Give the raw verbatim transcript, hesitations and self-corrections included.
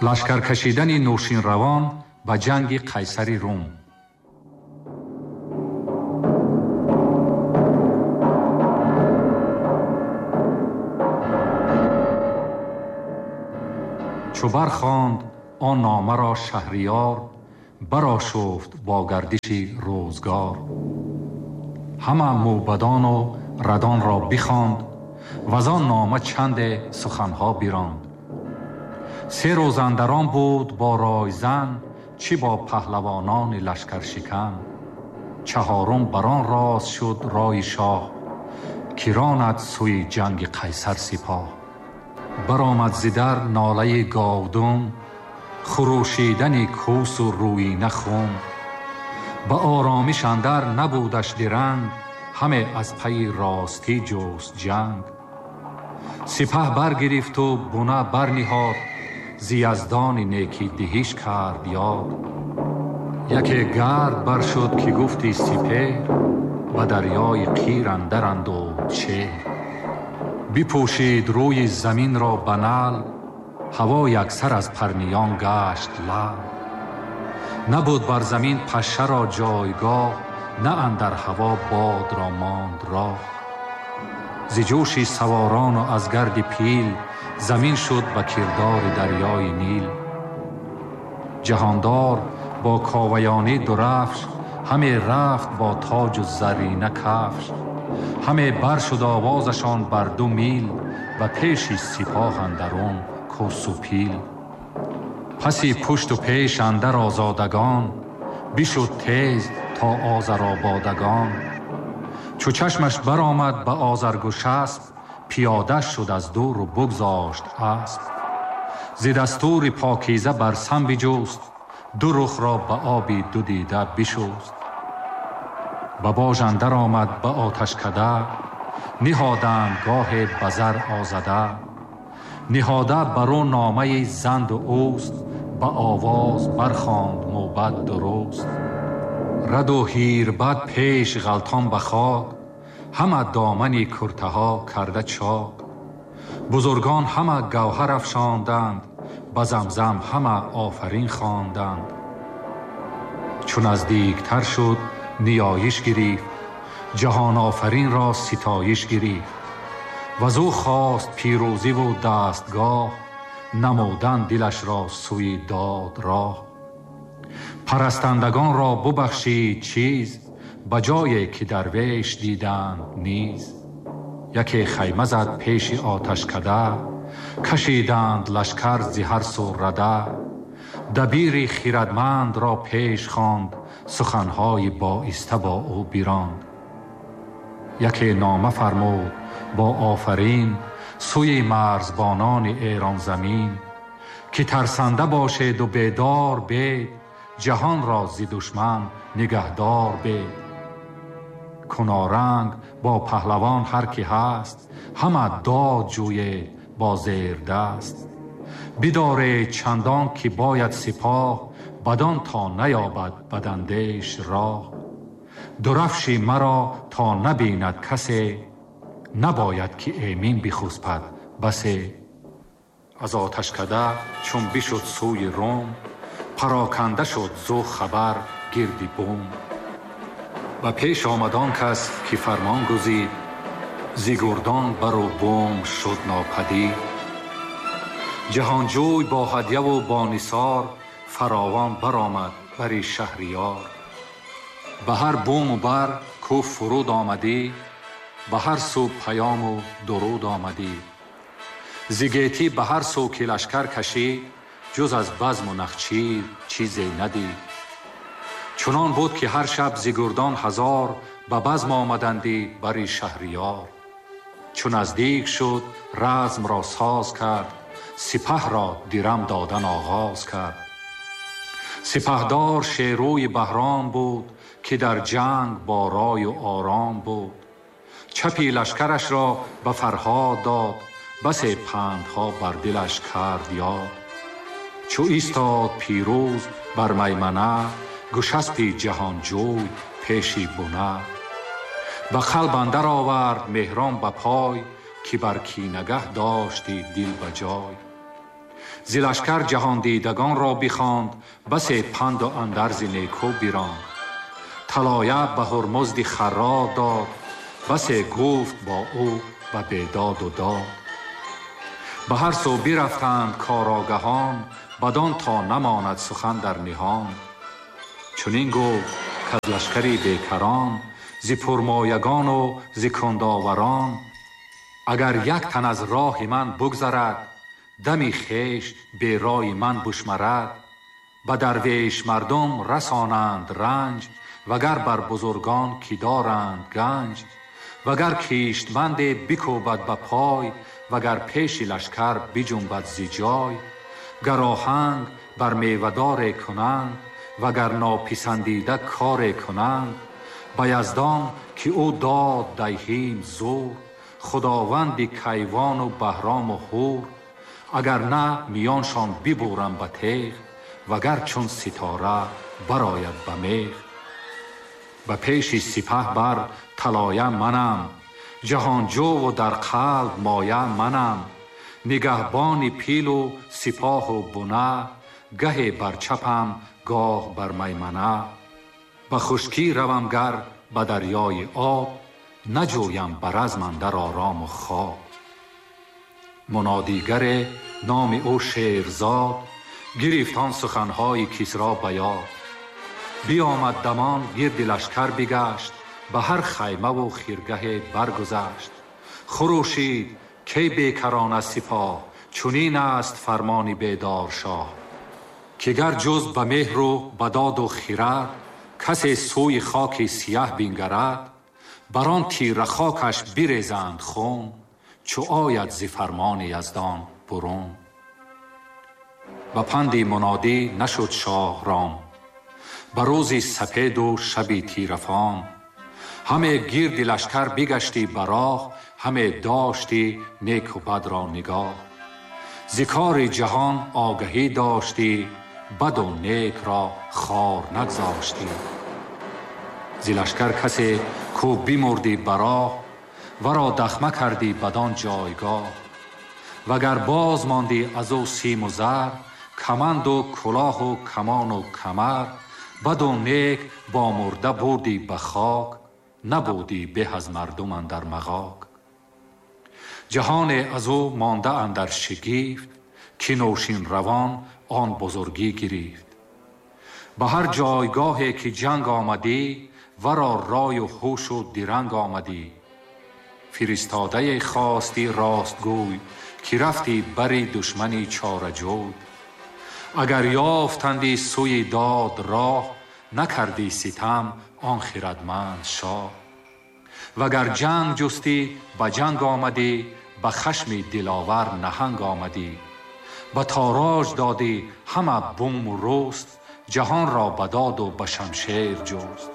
Лашкар кашидани Нӯшинравон ба ҷанги Қайсари Рум. Чу бархонд он номаро Шаҳриёр, барошуфт бо гардиши рӯзгор. Ҳама мӯбадону радонро бихонд, ваз он нома чанде суханҳо биронд. Се рӯз андарон буд бо ройзан, чӣ бо паҳлавонони лашкаршикан. Чаҳорум бар он рост шуд рои шоҳ, ки ронад сӯи ҷанги Қайсар сипоҳ. Баромад зи дар нолаи говдум, хурӯшидани кӯсу рӯина хум. Ба оромиш андар набудаш диранг, ҳаме аз пайи ростӣ ҷуст ҷанг. Сипаҳ баргирифту буна барниҳод, зи яздони некӣ диҳиш кард ёд. Яке гард баршуд ки гуфти сипеҳр, ба дарёи қир андар андӯд шеҳр. Бипӯшид рӯи заминро ба нал, ҳаво яксар аз парниён гашт лал. Набуд бар замин пашшаро ҷойгоҳ, на андар ҳаво бодро монд роҳ. Зи ҷӯши саворану аз гарди пил, замин шуд ба кирдори дарёи Нил. Ҷаҳондор бо коваёнӣ дурафш, ҳаме рафт бо тоҷу заррина кафш. Ҳаме бар шуд овозашон бар ду мил, ба пеши сипоҳ андарун кӯсу пил. Паси пушту пеш андар озодагон, бишуд тез то Озарободагон. Чу чашмаш баромад ба Озаргушасп, пиёда шуд аз дуру бигзошт асп. Зи дастури покиза бар сам биҷуст, ду рухро ба оби ду дида бишуст. Ба бож андар омад ба оташкада, ниҳоданд гоҳе ба зар озада. Ниҳода бар ӯ номаи занду ӯст, ба овоз бархонд мӯбад дуруст. Раду ҳирбад пеш ғалтон ба хок, ҳама домани куртаҳо карда чок. Бузургон ҳама гавҳар афшонданд, ба замзам ҳама офарин хонданд. Чу наздиктар шуд ниёиш гирифт, ҷаҳонофаринро ситоиш гирифт. Ваз ӯ хост пирӯзиву дастгоҳ, намудан дилашро сӯи дод роҳ. Парастандагонро бубахшид чиз, ба ҷое ки дарвеш диданд низ. Яке хайма зад пеши оташкада, кашиданд лашкар зи ҳар сӯ рада. Дабири хирадмандро пеш хонд, суханҳои боиста бо ӯ биронд. Яке нома фармуд бо офарин, сӯи марзбонони эронзамин, ки тарсанда бошеду бедор бед, ҷаҳонро зи душман нигаҳдор бед. Куноранг бо паҳлавон ҳар ки ҳаст, ҳама дод ҷӯед бо зердаст. Бидоред чандон ки бояд сипоҳ, бадон то наёбад бадандеш роҳ. Дурафши маро то набинад касе, набояд ки эмин бихуспад басе. Аз оташкада чун бишуд сӯи Рум, пароканда шуд зу хабар гирди бум. Ба пеш омад он кас ки фармон гузид, зи гурдон бару бум шуд нопадид. Ҷаҳонҷӯй бо ҳадяву бо нисор, фаровон баромад бари Шаҳриёр. Ба ҳар буму бар кӯ фуруд омадӣ, ба ҳар сӯ паёму дуруд омадӣ. Зи гетӣ ба ҳар сӯ ки лашкар кашид, ҷуз аз базму нахчир чизе надид. Чунон буд ки ҳар шаб зи гурдон ҳазор, ба базм омадандӣ бари Шаҳриёр. Чу наздик шуд размро соз кард, сипаҳро дирам додан оғоз кард. Сипаҳдор шерӯи Баҳром буд, ки дар ҷанг бо рою ором буд. Чапи лашкарашро ба Фарҳод дод, басе пандҳо бар дилаш кард ёд. Чу истод пирӯз бар маймана, гӯшаспи ҷаҳонҷӯй пеши буна. Ба қалб андар овард меҳрон ба пой, ки бар кинагаҳ дошти дил ба ҷой. зи лашкар ҷаҳондидагонро бихонд, басе панду андарзи неку биронд. Талоя ба Ҳурмузди Харрор дод, басе гуфт бо ӯ ба бедоду дод. Ба ҳар сӯ бирафтанд корогаҳон, бадон то намонад сухан дар ниҳон. Чунин гуфт каз лашкари бекарон, зи пурмоягону зи кундоварон, агар як тан аз роҳи ман бугзарад, дами хеш берои ман бушмарад, ба дарвеш мардум расонанд ранҷ, вагар бар бузургон ки доранд ганҷ, вагар киштманде бикӯбад ба пой, вагар пеши лашкар биҷунбад зи ҷой, гар оҳанг бар мевадоре кунанд, вагар нописандида коре кунанд, ба Яздон ки ӯ дод диҳим зур, худованди Кайвону Баҳрому Ҳур, агар на миёншон бибурам ба теғ, вагар чун ситора барояд ба меғ. Ба пеши сипаҳ бар талоя манам, ҷаҳонҷӯву дар қалб моя манам, нигаҳбони пилу сипоҳу буна, гаҳе бар чапам гоҳ бар маймана. Ба хушкӣ равам гар ба дарёи об, наҷӯям ба разм андар орому хоб. Мунодигаре номи ӯ Шерзод, гирифт он суханҳои Кисро ба ёд. Биомад дамон гирди лашкар бигашт, ба ҳар хаймаву хиргаҳе баргузашт. Хурӯшид кай бекарон аз сипоҳ, чунин аст фармони бедоршоҳ, ки гар ҷуз ба меҳру ба доду хирад, касе сӯи хоки сияҳ бингарад, бар он тира хокаш бирезанд хун, чу ояд зи фармони Яздон бурун. Ба панди мунодӣ нашуд шоҳ ром, ба рӯзи сапеду шаби тирафом. Ҳаме гирди лашкар бигаштӣ ба роҳ, ҳаме доштӣ неку бадро нигоҳ. Зи кори ҷаҳон огаҳӣ доштӣ, баду некро хор нагзоштӣ. Зи лашкар касе ку бимурдӣ ба роҳ, варо дахма кардӣ бадон ҷойгоҳ. Вагар боз мондӣ аз ӯ симу зар, каманду кулоҳу камону камар, баду нек бо мурда бурдӣ ба хок, набудӣ беҳ аз мардум андар мағок. Ҷаҳоне аз ӯ монда андар шигифт, ки нӯшин равон он бузургӣ гирифт. Ба ҳар ҷойгоҳе ки ҷанг омадӣ, варо рою ҳушу диранг омадӣ. Фиристодае хостӣ ростгӯй, ки рафтӣ бари душмани чораҷӯй. Агар ёфтандӣ сӯи дод роҳ, накардӣ ситам он хирадманд шоҳ. Вагар ҷанг ҷустӣ ба ҷанг омадӣ, ба хашми диловар наҳанг омадӣ. Ба тороҷ додӣ ҳама буму рӯст, ҷаҳонро ба доду ба шамшер ҷуст.